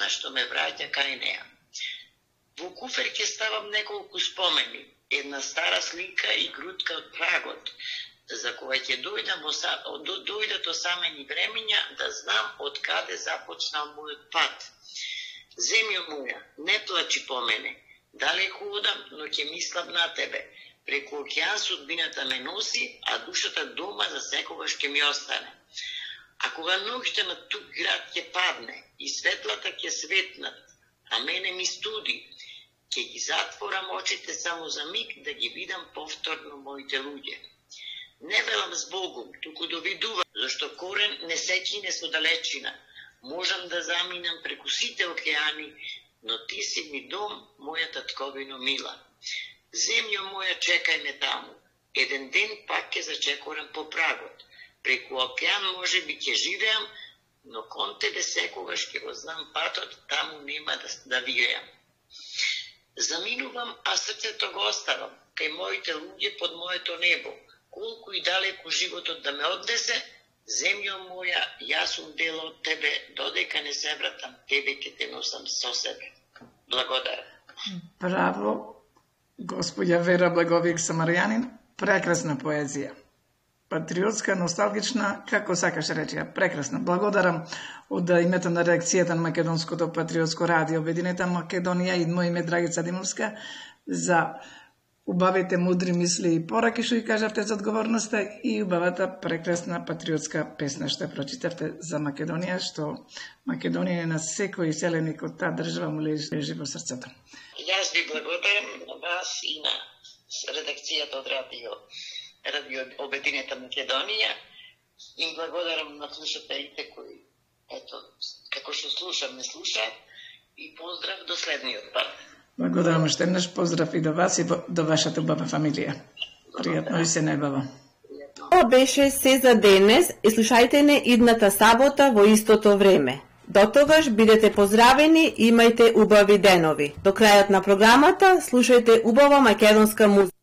песна што ме враќа кај неа. Во куфер ќе ставам неколку спомени, една стара слика и грудка од прагот, за која ќе дојдат осамени времења да знам од каде започнал мојот пат. Земјо моја, не плачи по мене, далеко одам, но ќе мислам на тебе. Преку океан судбината ме носи, а душата дома за секогаш ќе ми остане. А кога ноќта на тук град ќе падне и светлата ќе светнат, а мене ми студи, ќе ги затворам очите само за миг да ги видам повторно моите луѓе. Не велам с Богом, туку довидувам, зашто корен не се кине со далечина. Можам да заминам преку сите океани, но ти си ми дом, моја татковино мила. Земјо моја, чекај ме таму. Еден ден пак ќе зачекорам по прагот. Преку океан може би ќе живеам, но кон тебе секогаш ќе го знам патот, таму нема да виреам. Заминувам, а срцето го оставам, кај моите луѓе под моето небо. Колку и далеку животот да ме однесе, земјо моја, јас сум дел од тебе, додека не се вратам, тебе ќе те носам со себе. Благодарам. Браво, господја Вера Благовијак Самарјанин, прекрасна поезија. Патриотска, носталгична, како сакаш речи, прекрасна. Благодарам од името на редакцијата на Македонското патриотско радио Обединета Македонија и мој име Драгица Димовска за убавите мудри мисли и пораки што ги кажавте за одговорноста и убавата прекрасна патриотска песна што прочитавте за Македонија, што Македонија на секој селеник од таа држава му лежи во срцето. Јас ви благодарам на вас и на редакцијата од радио Обединета Македонија. Им благодарам на слушателите кои, ето, како што слушам, не слушаат, и поздрав до следниот пат. Благодарам уште еднаш, поздрав и до вас и до вашата убава фамилија. Пријатно и се најбаво. Ова беше се за денес и слушајте не идната сабота во истото време. До тогаш бидете поздравени и имајте убави денови. До крајот на програмата слушајте убава македонска музика.